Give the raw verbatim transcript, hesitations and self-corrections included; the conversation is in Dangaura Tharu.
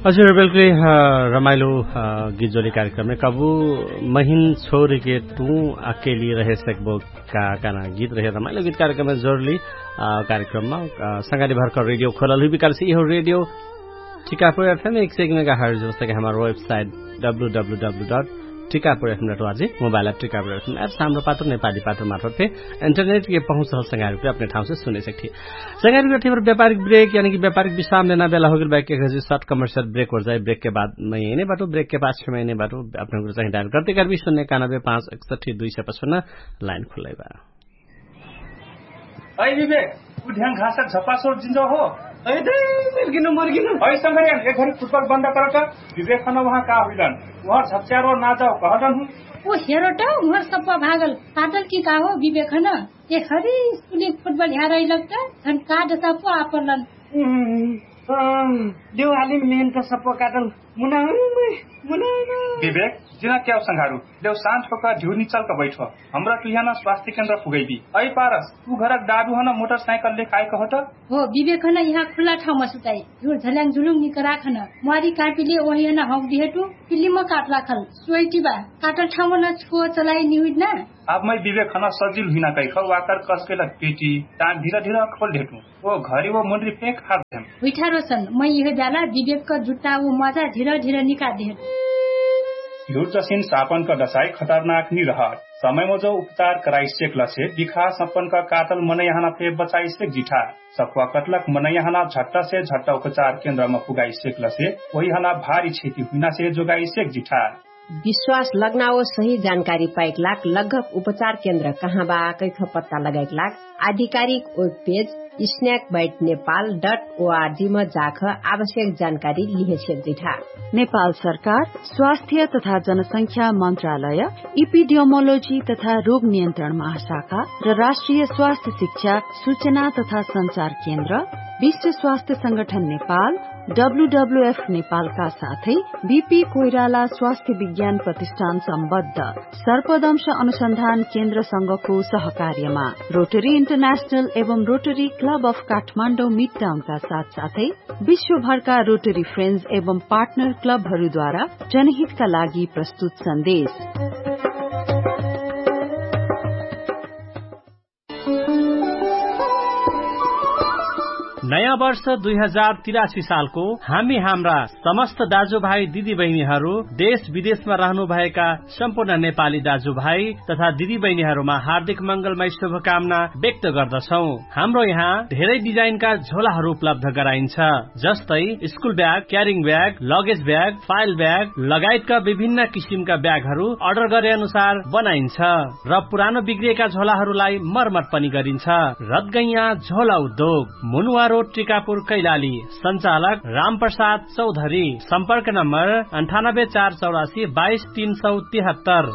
हजुर बिल्कुलै। रमाइलो गीत जोली कार्यक्रममे कबु महिन छोरीके तु अकेली रहे सकबो का कहना गीत रहे रमाइलो गीत कार्यक्रममे जोरली। कार्यक्रममा संगाली भरकर रेडियो खोलल हुइ बिकारसे इहो रेडियो टिकापुर एफएम एक सय एक मेगा हर्ज जस्तै कि हमार website W W W dot Tikapur FM dot वाजी mobile app Tikapur FM app सामरो पात्र नेपाली पात्र मार्फत फे इन्टरनेट के पहुँच रहल संगाली अपने ठाउँसे सुने सकथि। संगारी गठे पर व्यापारिक ब्रेक यानी कि व्यापारिक विश्राम लेना बेला होगेल बाइक एक हजी शर्ट कमर्सियल ब्रेक होर जाए ब्रेक के बाद महिने बाटो ब्रेक के पास छह महिने बाटो। अपने गुरु चाहिए डायल करते कर भी सुन्ने कानबे पाँच एकसठी दुई सय पचपन्न लाइन खुल्लै बा। है विवेक, उ ढ्याङ घासक झपासोर जिन्जो हो। है दे मर्गिनु मर्गिनु है संगरियन एक घरी फुटबल बन्द करत। विवेक खन वहाँ का हुइलन? वहाँ झप्च्यारो ना जाओ कहलन हुँ। ओ हेरोट, उहर सप्पा भागल पातल कि का हो विवेक खन? ए हरी स्कुली फुटबल ह्यारै लग्त झन का दसा पो आपरलन। देउ हाली मेहनत सप्पा काटल। मुना मुना विवेक, जिना क्याउ संघारु? देउ शान्त होका ढिउ निचलका बैठो। हमरा तुहियाना स्वास्थ्य केन्द्र पुगैबी। ऐ पारस, तु घरक दादु हन मोटरसाइकल लेख आइक होत। हो विवेक हन यहाँ खुल्ला ठाउँमा सुताइ। ढिउ झल्याङ झुलुङ निकराक हन। म्वारी कापिले ओहियन हौक दिहेटु। पिल्लिम काटलाखल सोइटिबा। काटल ठाउँमा न छुको चलाइ निहुइट ना। आब मै विवेक हन सजिल हुइना कैख वाकर कसकेलक पेटी टान ढिर ढिर खोल ढेटु। ओ घरी ओ मुन्री फेक हार देम। हुइठा रोसन मै यहे ब्याला विवेक क जुट्टा ओ मजा ढिर ढिर निका देहेट। ढिउर जसिन सापन क दसाइ खतरनाक निरहट। समय मजो उपचार कराइ सेकलसे बिखा सपन क काटल मनैहाना फे बचाइ सेक जिठा। सप्वा कटलक मनैहाना झट्टसे झट्ट उपचार केन्द्रमा पुगाइ सेकलसे ओहिहाना भारी क्षति हुइनासे जोगाइ सेक जिठा। विश्वास लग्नाओ सही जानकारी पाइक लाग लगभग उपचार केन्द्र कहाँ बा कैख पत्ता लगाइक लाग आधिकारिक web page snack bat Nepal डट ओआरजी म जाख आवश्यक जानकारी लिहे सेक जिठा। नेपाल सरकार स्वास्थ्य तथा जनसंख्या मन्त्रालय इपिडियोमोलोजी तथा रोग नियन्त्रण महाशाखा र राष्ट्रिय स्वास्थ्य शिक्षा सुचना तथा संचार केन्द्र विश्व स्वास्थ्य संगठन नेपाल डब्ल्यूडब्ल्यूएफ नेपालका साथै बिपी कोइराला स्वास्थ्य विज्ञान प्रतिष्ठान सम्बद्ध सर्पदंश अनुसन्धान केन्द्रसँगको सहकार्यमा रोटरी इन्टरनेशनल एवं रोटरी क्लब अफ काठमाडौँ मिडटाउनका साथसाथै विश्वभरका रोटरी फ्रेन्ड्स एवं पार्टनर क्लबहरूद्वारा जनहितका लागि प्रस्तुत सन्देश। नयाँ वर्ष दुई हजार तिरासी सालको हामी हाम्रा समस्त दाजुभाइ दिदीबहिनीहरू, देश विदेशमा रहनुभएका सम्पूर्ण नेपाली दाजुभाइ तथा दिदीबहिनीहरूमा हार्दिक मङ्गलमय शुभकामना व्यक्त गर्दछौँ। हाम्रो यहाँ धेरै डिजाइनका झोलाहरू उपलब्ध गराइन्छ, जस्तै school bag, carrying bag, luggage bag, file bag लगायतका विभिन्न किसिमका ब्यागहरू अर्डर गरे अनुसार बनाइन्छ र पुरानो बिग्रिएका झोलाहरूलाई मर्मत पनि गरिन्छ। रदगैया झोला उद्योग, मुनुवा रोड, टिकापुर, कैलाली। सञ्चालक रामप्रसाद चौधरी। सम्पर्क नम्बर अन्ठानब्बे चार चौरासी बाइस तीन सौ तिहत्तर।